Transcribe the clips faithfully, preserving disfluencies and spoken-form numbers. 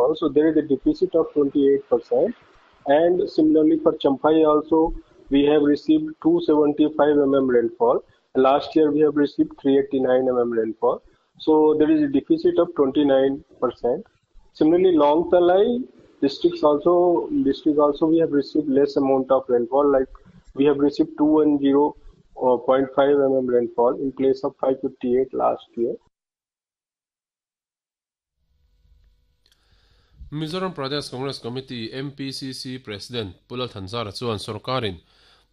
rainfall. So there is a deficit of twenty-eight percent. And similarly for Champhai also, we have received two seventy-five millimeters rainfall. Last year we have received three eighty-nine millimeters rainfall. So there is a deficit of twenty-nine percent. Similarly, Lawngtlai districts also, district also we have received less amount of rainfall, like we have received two one zero point five millimeters rainfall in place of five fifty-eight last year. Mizoram Pradesh Congress Committee M P C C President Pu Lal Thanzara chuan Sarkarin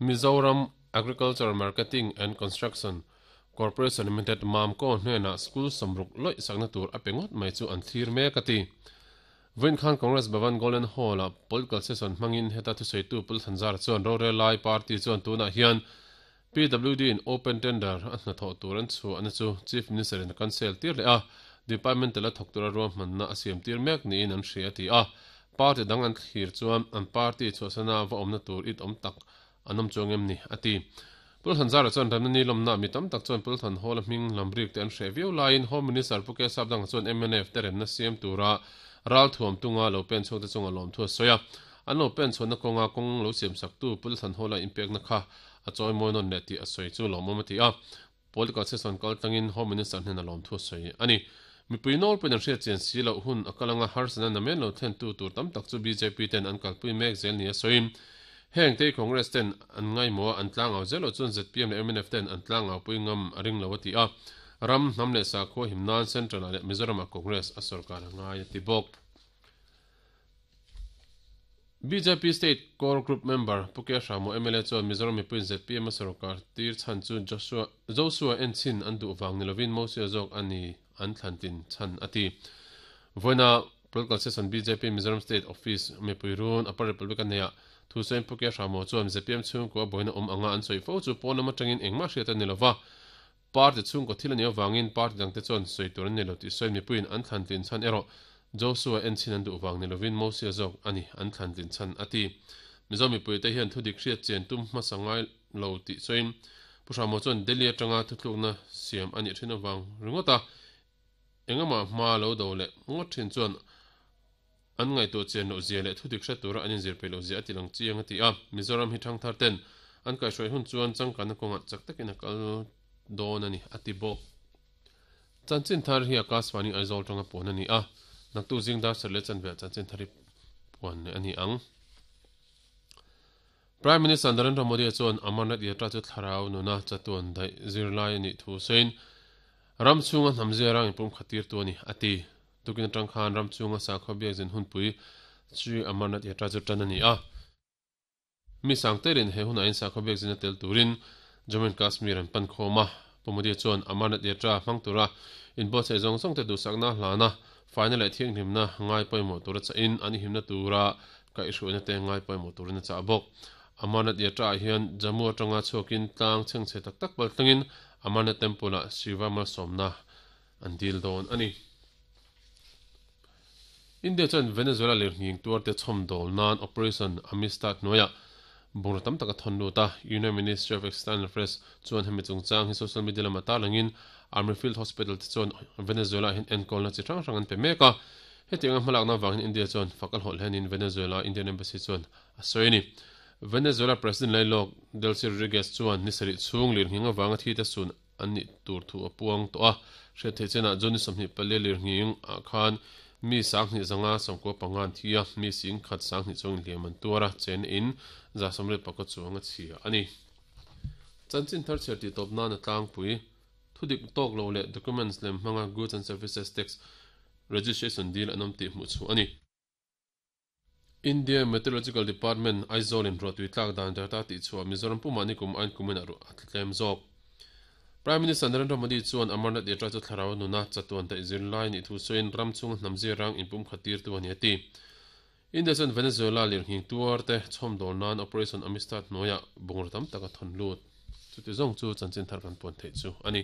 Mizoram Agricultural Marketing and Construction Corporation Limited Mamco hnena school samruk loi sakna tur apengot mai chu an thlir mek ati. Vawiin khan Congress Bhavan Golden Hall a political session hmangin heta thuseitu Pu Lal Thanzara chuan Rorel Lai Party chuan tunah hian P W D in open tender a hnathawh tur an chu an chu Chief Minister in cancel tir leh a Department la thok tura ruam hmanna a siam tir mek niin an hria ti a party dang an thlir chuan an party chhuahsana va awmna tur it awm tak an awm chuang em ni ati. Pu Lal Thanzara chuan ramna ni lawmna mi tam tak chuan Pu Lal Thanhawla hming lamrik te an hre viau laiin Home Minister Pu K Sapdanga chuan M N F te remna siam tura ral thuam tunga lo pen chhuak te chunga lawm thu a sawi a an lo pen chhuahna kawnga kawng lo siam sak tu Pu Lal Thanhawla inpekna kha a chawi mawi nawn leh tih a sawi chu lawm awm a ti a political session kal tlangin Home Minister hnena lawm thu a sawi ani. Mipui nawl pawhin an hriat chian si loh hun a kalanga harsana namen lo thlen tu tur tam tak chu B J P ten an kalpui mek zel ni a sawiin heng te Congress ten an ngai maw an tlang au zel lo chuan Z P M leh M N F ten an tlang au pui ngam a ring lo a ti a ram hnam leh sakhaw himnan Central ah leh Mizoram ah Congress a sarkar a ngai a ti bawk. B J P State Core Group member Pu K Hramo M L A chuan Mizoram mipuiin Z P M a sarkar tir chhan chu Joshua Joshua en chin an duh wang nilovin Mosia zawk ani an thlantin chan ati. Vawiina political session B J P Mizoram State Office mipui run Upper Republic ania thu sawiin Pu K Hramo chuan Z P M chhungkua boina awm anga an sawi fo chu pawn lama tangin engmah hriat ani lova party chhungkaw thil ani awangin party dangte chuan sawi tur an ni lo tih sawiin mipuiin an thlantin chan erawh Joshua en chin an duh wang nilovin Mosia zawk ani an thlantin chan ati. Mizo mipui te hian thu dik hriat chian tum hmasa ngai lo tih sawiin Pu Hramo chuan Delhi atanga thuthlukna siam ani thin awang ringawt a engama hma lo do leh ngawt thin chuan an ngai tu chian lo zia leh thu dik hriat tura an inzir peih lo zia ati lang chiang ati a Mizoram hi thang thar ten an kaihhruai hun chuan changkanna kawngah chak takin a kal dawn ani ati bawk. Chanchin thar hi Akashvani Aizawl tanga puan ani a naktu zingdar sarle chanve chanchin thari puan ani ang. Prime Minister Narendra Modi chuan Amarnath Yatra chu thlarau nuna chatuan dai zirlai ani thu sawiin ram chhunga hnam zia rang inpum khatir tu ani ati. Tukin atang khan ram chhunga sakhaw biak zin hunpui Shri Amarnath Yatra chu tan ani a mi sangterin he huna in sakhaw biak zin a tel turin Jammu and Kashmir an pan khawma Pu Modi chuan Amarnath Yatra hmang tura inbuatsaih zawng zawng te duhsakna hlana final leh thianghlimna ngai pawimawh tura cha in an himna tura kaihhruaina te ngai pawimawh turin a chah bawk. Amarnath Yatra ah hian Jammu atanga chhuakin tlang chhengchhe tak tak pal tlangin Amarnath Temple ah Shiva Malsawmna an dil dawn ani. India chuan Venezuela lirhning tuar te chhawm dawl nan Operation Amistad hnuaiah bungraw tam taka thawn lut a Union Ministry of External Affairs chuan hemi chungchang hi social media lama tarlangin Army Field Hospital te chuan Venezuela hian enkawlna chi hrang hrang an pe mek a hetiang a hmalakna wangin India chuan fakal hawlh hianin Venezuela Indian Embassy chuan a sawi ani. Venezuela President Lailok Delcy Rodriguez chuan ni sarih chhung lirhning awanga thi te sun an ni tur thu a puang tawh a hriat theih chenah June sawmhnih pali lirhning ah khan mi sanghnih zanga sawmkua pangan thi a mi sing khat sanghnih chuangin hliam an tuar a chen in za sawmriat pakhat chuang a chhia ani. Chanchin thar chher tih tawp nan a tlangpui thudik tawk lo leh documents lem hmanga goods and services tax registration deal an awm tih hmuh chu ani. India Meteorological Department Aizawl in ruah tui tlak dan data tih chhuah Mizoram pumah ni kum ain kumin a ruah a tlem zawk. Prime Minister Narendra Modi chuan Amarnath Yatra chu thlarau nuna chatuan daih zirlai ni thu sawiin ram chhunga hnam zia rang inpum khatir tu ani ati. India chuan Venezuela lirhning tuar te chhawm dawl nan Operation Amistad hnuaiah bungraw tam taka thawn lut. Chuti zawng chu chanchin thar kan puan theih chu ani.